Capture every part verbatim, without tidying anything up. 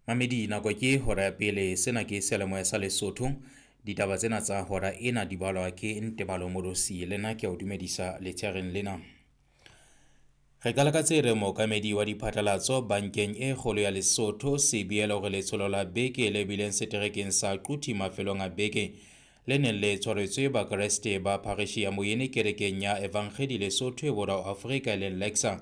Mamedi, nako ke hora ya pele. Sena ke seyalemoya sa Lesotho. Ditaba tsena tsa hora ena di balwa ke Ntebalo Morosi. Le nna ke a o dumedisa letsheareng lena. Re qala ka tse reng mookamedi wa diphatlalatso bankeng e kgolo ya Lesotho Sebielo hore letsholo la beke le bileng seterekeng sa Quthi mafelong a beke le neng le tshwaretswe Bakreste ba phareshi ya Moyene kerekeng ya Evangeli Lesotho e Borwa Afrika e leng Lexa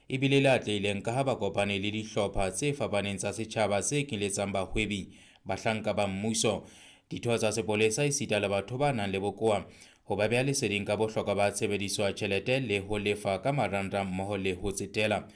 ebile le atlehileng ka ha ba kopane le dihlopha tse fapaneng tsa setjhaba tse kenyeletsang bahwebi, bahlanka ba mmuso, ditho tsa sepolesa esita le batho ba nang le bokowa ho ba beha leseding ka bohlokwa ba tshebediso ya tjhelete le ho lefa ka marangrang mmoho le ho tsetela.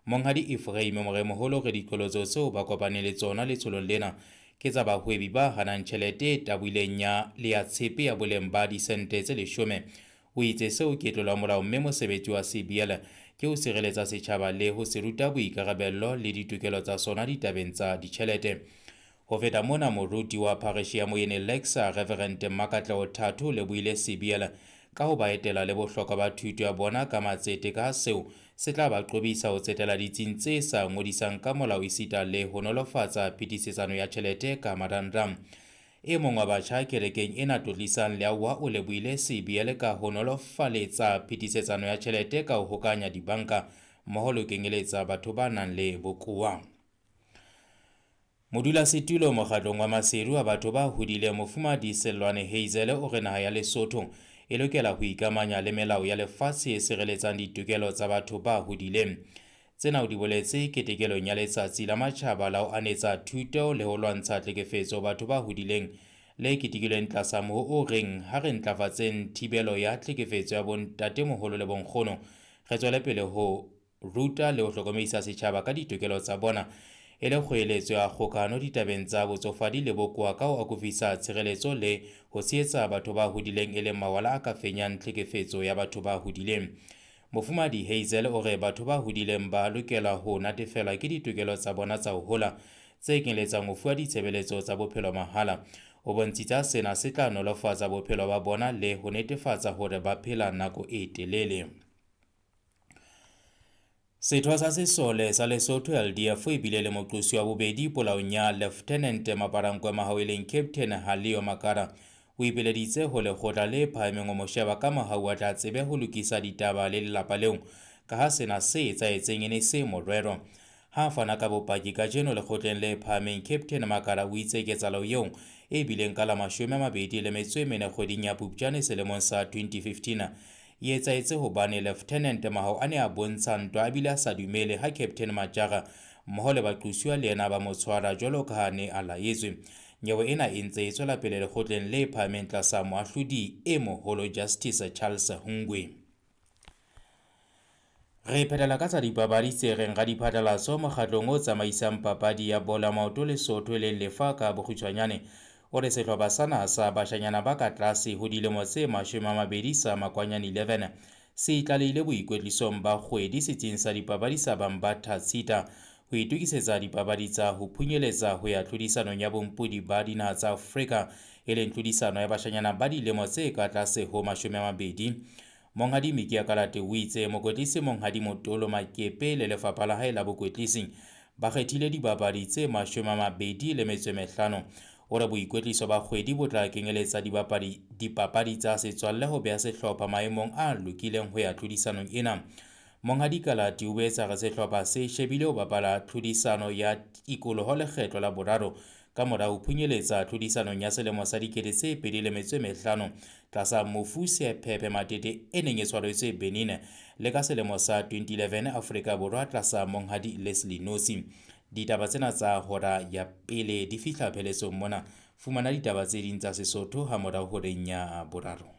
Monghadi Ephraim Moremoholo re diqholotso tseo ba kopaneng le tsona letsholong lena ke tsa bahwebi ba hanang tjhelete e taboileng ya le ya tshepe ya boleng ba disente tse leshome. O itse seo ke tlolo ya molao mme mosebetsi wa C B L ke ho sireletsa setjhaba le ho se ruta boikarabello le ditokelo tsa sona ditabeng tsa ditjhelete. Ho feta mona, moruti wa phareshi ya Moyene Lexa Reverend Makatleho Thato o lebohile C B L ka ho ba etela le bohlokwa ba thuto ya bona ka matsete ka seo se tla ba qobisa ho tsetela ditsing tse sa ngodisang ka molao esita le ho nolofatsa phetisetsano ya tjhelete ka marangrang. E mong wa batjha kerekeng ena Tlotlisang Leawa o lebohile C B L ka ho nolofaletsa phetisetsano ya tjhelete ka ho hokanya dibanka mmoho le ho kenyeletsa batho ba nang le bokowa. Modulasetulo mokgatlong wa Maseru wa batho ba hodileng Mofumahadi Sellwane Hazel o re naha ya Lesotho e lokela ho ikamanya le melao ya lefatshe e sireletsang ditokelo tsa batho ba hodileng. Tsena o di boletse ketekelong ya letsatsi la matjhaba la ho anetsa thuto le ho lwantsha tlhekefetso batho ba hodileng le ketekilweng tlasa moho o reng ha re ntlafatseng thibelo ya tlhekefetso ya bontatemoholo le bonkgono, re tswele pele ho ruta le ho hlokomedisa setjhaba ka ditokelo tsa bona e le kgoeletso ya kgokahano ditabeng tsa botsofadi le bokowa ka ho akofisa tshireletso le ho tshehetsa batho ba hodileng e leng mawala a ka fenyang tlhekefetso ya batho ba hodileng. Mofumahadi Hazel o re batho ba hodileng ba lokela ho natefelwa ke ditokelo tsa bona tsa ho hola tse kenyeletsang ho fuwa ditshebeletso tsa bophelo mahala. O bontshitse sena se tla nolofatsa bophelo ba bona le ho netefatsa hore ba phela nako e telele. Setho sa sesole sa Lesotho L D F e bile le moqosi wa bobedi polaong ya Lieutenant Maparankwe Mahau e leng Captain Halio Makara. O ipileditse ho lekgotla le phahameng ho mo sheba ka mohau a tla tsebe ho lokisa ditaba le lelapa leo ka ha sena se etsahetseng e ne se morero. Ha a fana ka bopaki kajeno lekgotleng le phahameng, Captain Makara o itse ketsahalo eo e bileng ka la mashome a mabedi le metso e mene kgweding ya Phupjane selemong sa twenty fifteen e etsahetse hobane Lieutenant Mahau a ne a bontsha ntwa a bile a sa dumele ha Captain Majara mmoho le baqosuwa le yena ba mo tshwara jwalo ka ha ne a laetswe. Nyewe ena e ntse e tswela pele lekgotleng le phahameng tlasa moahlodi e moholo Justice Charles Hungwe. Re phethela ka tsa dipapadi tse reng radiphatlalatso mokgatlong o tsamaisang papadi ya bolo ya maoto Lesotho e leng Lefa ka bokgutshwanyane o re sehlopha sa naha sa bashanyana ba ka tlase ho dilemo tse mashome a mabedi sa Makwanyane eleven se itlalehile boikwetlisong ba kgwedi setsing sa dipapadi sa Bambatha Tshita ho itokisetsa dipapadi tsa ho phunyeletsa ho ya tlhodisanong ya bompodi ba dinaha tsa Afrika e leng tlhodisano ya bashanyana ba dilemo tse ka tlase ho mashome a mabedi. Monghadi Mikia Kalate o itse mokwetlisi Monghadi Motolo Makepe le lefapha la hae la bokwetlisi ba kgethile dibapadi tse mashome a mabedi le metso e mehlano. O re boikwetliso ba kgwedi bo tla kenyeletsa dibapadi, dipapadi tsa setswalle ho beha sehlopha maemong a lokileng ho ya tlhodisanong ena. Monghadi Kalate o boetse a re sehlopha se shebile ho bapala tlhodisano ya tikoloho lekgetlo la boraro ka mora ho phunyeletsa tlhodisanong ya selemo sa dikete tse pedi le metso e mehlano tlasa mofu Sephephe Matete e neng e tshwaretswe Benin le ka selemo sa twenty eleven Afrika Borwa tlasa Monghadi Leslie Nosi. Ditaba tsena tsa hora ya pele di fihla pheletsong mona. Fumana ditaba tse ding tsa Sesotho ha morao horeng ya boraro.